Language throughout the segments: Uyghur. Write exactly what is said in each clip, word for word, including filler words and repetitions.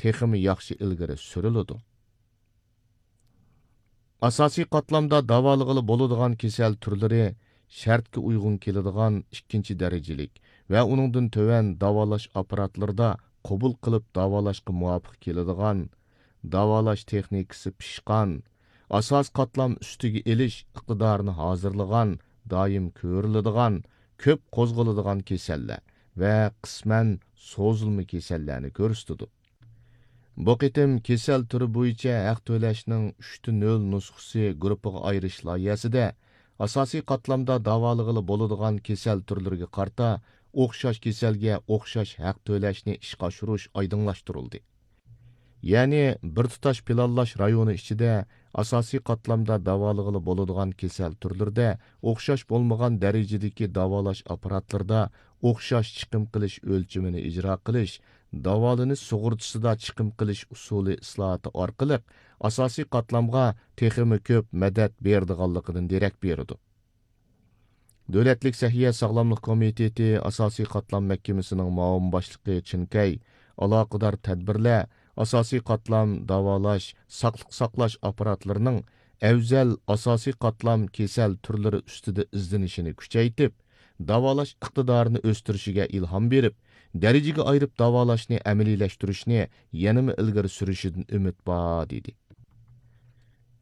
تېخىمۇ ياخشى ئىلگىرى سۈرۈلىدۇ. ئاساسىي قاتلامدا داۋالىغىلى بولىدىغان كېسەل تۈرلىرى شەرتكە ئۇيغۇن كېلىدىغان ئىككىنچى دەرىجىلىك ۋە ئۇنىڭدىن تۆۋەن داۋالاش ئاپپاراتلىرىدا قوبۇل قىلىپ داۋالاشقا مۇۋاپىق كېلىدىغان، داۋالاش تېخنىكىسى پىشقان، ئاساسىي قاتلام ئۈستىگە ئېلىش ئىقتىدارىنى ھازىرلىغان، دائىم كۆرۈلىدىغان، كۆپ قوزغىلىدىغان كېسەللەر ۋە قىسمەن سوزۇلما كېسەللەرنى كۆرسىتىدۇ. بۇ قېتىم كېسەل تۈرى بويىچە ھەق تۆلەشنىڭ ئۈچتە نۆل نۇسخىسى گۇرۇپپىغا ئايرىش لايىھەسىدە ئاساسىي قاتلامدا داۋالىغىلى بولىدىغان كېسەل تۈرلىرىگە قارىتا ئوخشاش كېسەلگە ئوخشاش ھەق تۆلەشنى ئىشقا ئاشۇرۇش ئايدىڭلاشتۇرۇلدى. يەنى بىر تۇتاش پىلانلاش رايونى ئىچىدە ئاساسىي قاتلامدا داۋالىغىلى بولىدىغان كېسەل تۈرلىرىدە ئوخشاش بولمىغان دەرىجىدىكى داۋالاش ئاپپاراتلىرىدا ئوخشاش چىقىم قىلىش ئۆلچىمىنى ئىجرا قىلىش، داۋالىنىش سۇغۇرتىسىدا چىقىم قىلىش ئۇسۇلى ئىسلاھاتى ئارقىلىق ئاساسىي قاتلامغا تېخىمۇ كۆپ مەدەت بېرىدىغانلىقىدىن دېرەك بېرىدۇ. دۆلەتلىك سەھىيە ساغلاملىق كومىتېتى ئاساسىي قاتلام مەھكىمىسىنىڭ مۇئاۋىن باشلىقى چىن كەي ئالاقىدار تەدبىرلەر ئاساسىي قاتلام داۋالاش، ساقلىق ساقلاش ئاپپاراتلىرىنىڭ ئەۋزەل ئاساسىي قاتلام كېسەل تۈرلىرى ئۈستىدە ئىزدىنىشىنى كۈچەيتىپ، داۋالاش ئىقتىدارىنى ئۆستۈرۈشىگە ئىلھام بېرىپ، دەرىجىگە ئايرىپ داۋالاشنى ئەمەلىيلەشتۈرۈشنى يەنىمۇ ئىلگىرى سۈرۈشىدىن ئۈمىد بار، دېدى.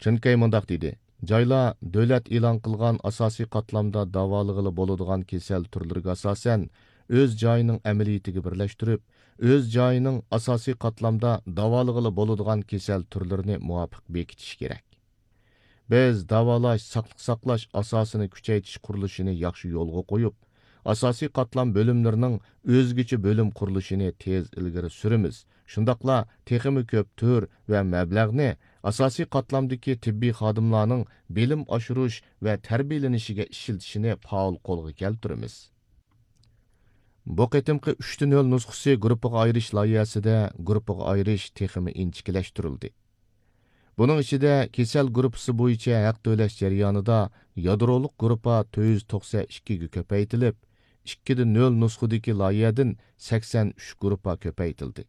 چىن كەي مۇنداق دېدى، جايلار دۆلەت ئېلان قىلغان ئاساسىي قاتلامدا داۋالىغىلى بولىدىغان كېسەل تۈرلىرىگە ئاساسەن، ئۆز جايىنىڭ ئەمەلىيىتىگە بىرلەشتۈرۈپ، ئۆز جايىنىڭ ئاساسىي قاتلامدا داۋالىغىلى بولىدىغان كېسەل تۈرلىرىنى مۇۋاپىق بېكىتىشى كېرەك. بىز داۋالاش، ساقلىق ساقلاش ئاساسىنى كۈچەيتىش قۇرۇلۇشىنى ياخشى يولغا قويۇپ، ئاساسىي قاتلام بۆلۈملىرىنىڭ ئۆزگىچە بۆلۈم قۇرۇلۇشىنى تېز ئىلگىرى سۈرىمىز. شۇنداقلا تېخىمۇ كۆپ تۈر ۋە مەبلەغنى ئاساسىي قاتلامدىكى تېببىي خادىملارنىڭ بىلىم ئاشۇرۇش ۋە تەربىيەلىنىشىگە ئىشلىتىشنى پائال قولغا كەلتۈرىمىز. بۇ قېتىمقى ئۈچتە نۆل نۇسخىسى گۇرۇپپىغا ئايرىش لايىھەسىدە گۇرۇپپىغا ئايرىش تېخىمۇ ئىنچىكىلەشتۈرۈلدى. بۇنىڭ ئىچىدە كېسەل گۇرۇپپىسى بويىچە ھەق تۆلەش جەريانىدا يادرولۇق گۇرۇپپا تۆت يۈز توقسەن ئىككىگە كۆپەيتىلىپ، ئىككىدە نۆل نۇسخىدىكى لايىھەدىن سەكسەن ئۈچ گۇرۇپپا كۆپەيتىلدى.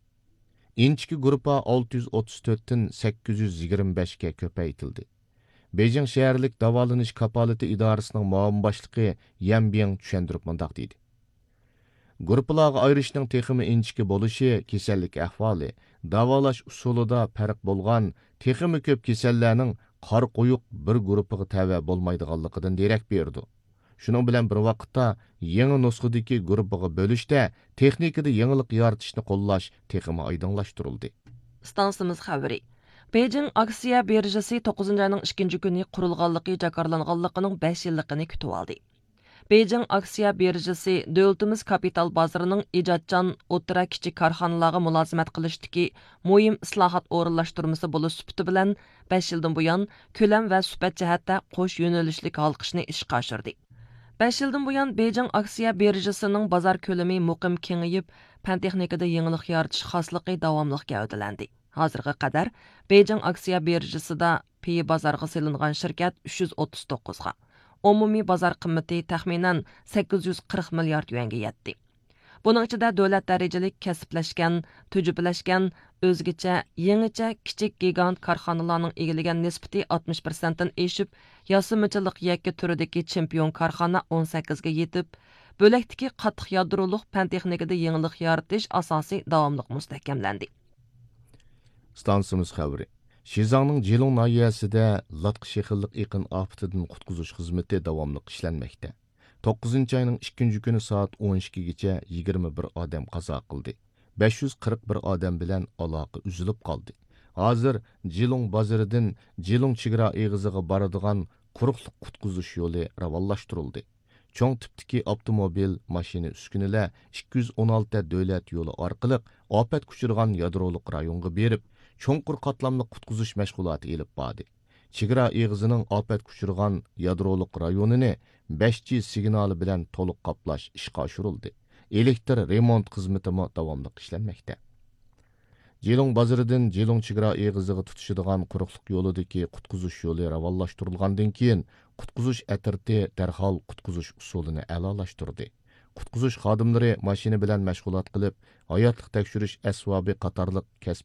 ئىنچىكە گۇرۇپپا ئالتە يۈز ئوتتۇز تۆتتىن سەككىز يۈز يىگىرمە بەشكە كۆپەيتىلدى. بېيجىڭ شەھەرلىك داۋالىنىش كاپالىتى ئىدارىسىنىڭ مۇئاۋىن باشلىقى يەن بىڭ چۈشەندۈرۈپ مۇنداق دېدى. گۇرۇپپىلارغا ئايرىشنىڭ تېخىمۇ ئىنچىكە بولۇشى كېسەللىك ئەھۋالى، داۋالاش ئۇسۇلىدا پەرق بولغان تېخىمۇ كۆپ كېسەللەرنىڭ قارا قويۇق بىر گۇرۇپپىغا تەۋە بولمايدىغانلىقىدىن دېرەك بېرىدۇ. شۇنىڭ بىلەن بىر ۋاقىتتا، يېڭى نۇسخىدىكى گۇرۇپپىغا بۆلۈشتە تېخنىكىدا يېڭىلىق يارىتىشنى قوللاش تېخىمۇ ئايدىڭلاشتۇرۇلدى. ئىستانسىمىز خەۋىرى. بېيجىڭ ئاكسىيە بىرژىسى توققۇزىنچى ئاينىڭ ئىككىنچى كۈنى قۇرۇلغانلىقى جاكارلانغانلىقىنىڭ بەش يىللىقىنى كۈتۈۋالدى. بېيجىڭ ئاكسىيە بىرژىسى دۆلىتىمىز كاپىتال بازىرىنىڭ ئىجادچان ئوتتۇرا، كىچىك كارخانىلارغا مۇلازىمەت قىلىشتىكى مۇھىم ئىسلاھات ئورۇنلاشتۇرمىسى بولۇش سۈپىتى بىلەن، بەش يىلدىن بۇيان كۆلەم ۋە سۈپەت جەھەتتە قوش يۆنىلىشلىك ھالقىشنى ئىشقا ئاشۇردى. بەش يىلدىن بۇيان بېيجىڭ ئاكسىيە بىرژىسىنىڭ بازار كۆلىمى مۇقىم كېڭىيىپ، پەن تېخنىكىدا يېڭىلىق يارىتىش خاسلىقى داۋاملىق گەۋدىلەندى. ھازىرغا قەدەر بېيجىڭ ئاكسىيە بىرژىسىدا پېيى بازارغا سېلىنغان شىركەت ئۈچ يۈز ئوتتۇز توققۇزغا، ئومۇمىي بازار قىممىتى تەخمىنەن سەككىز يۈز قىرىق مىليارد يۈەنگە يەتتى. بۇنىڭ ئىچىدە دۆلەت دەرىجىلىك كەسىپلەشكەن، تۈجۈپىلەشكەن، ئۆزگىچە، يېڭىچە كىچىك گىگانت كارخانىلارنىڭ ئىگىلىگەن نىسبىتى ئاتمىش پىرسەنتتىن ئېشىپ، ياسىمىچىلىق يەككە تۈرىدىكى چېمپىيون كارخانا ئون سەككىزگە يېتىپ، بۆلەكتىكى قاتتىق يادرولۇق پەن تېخنىكىدا يېڭىلىق يارىتىش ئاساسى داۋاملىق مۇستەھكەملەندى. ئىستانسىمىز خەۋىرى. شىزاڭنىڭ جىلۇڭ ناھىيەسىدە لاتقا شېخىللىق ئېقىن ئاپىتىدىن قۇتقۇزۇش خىزمىتى داۋاملىق ئىشلەنمەكتە. توققۇزىنچى ئاينىڭ ئىككىنچى كۈنى سائەت ئون ئىككىگىچە يىگىرمە بىر ئادەم قازا قىلدى. بەش يۈز قىرىق بىر ئادەم بىلەن ئالاقە ئۈزۈلۈپ قالدى. ھازىر جىلۇڭ بازىرىدىن جىلۇڭ چېگرا ئېغىزىغا بارىدىغان قۇرۇقلۇق قۇتقۇزۇش يولى راۋانلاشتۇرۇلدى. چوڭ تىپتىكى ئاپتوموبىل، ماشىنا، ئۈسكۈنىلەر ئىككى يۈز ئون ئالتە دۆلەت يولى ئارقىلىق ئاپەتكە ئۇچرىغان يادرولۇق رايونغا بېرىپ، چوڭقۇر قاتلاملىق قۇتقۇزۇش مەشغۇلاتى ئېلىپ باردى. چېگرا ئېغىزىنىڭ ئاپەتكە ئۇچرىغان يادرولۇق رايونىنى بەش جى سىگنالى بىلەن تولۇق قاپلاش ئىشقا ئاشۇرۇلدى. ئېلېكتر رېمونت خىزمىتىمۇ داۋاملىق ئىشلەنمەكتە. جىلۇڭ بازىرىدىن جىلۇڭ چېگرا ئېغىزىغا تۇتىشىدىغان قۇرۇقلۇق يولىدىكى قۇتقۇزۇش يولى راۋانلاشتۇرۇلغاندىن كېيىن، قۇتقۇزۇش ئەترىتى دەرھال قۇتقۇزۇش ئۇسۇلىنى ئەلالاشتۇردى. قۇتقۇزۇش خادىملىرى ماشىنا بىلەن مەشغۇلات قىلىپ، ھاياتلىق تەكشۈرۈش ئەسۋابى قاتارلىق كەسپىي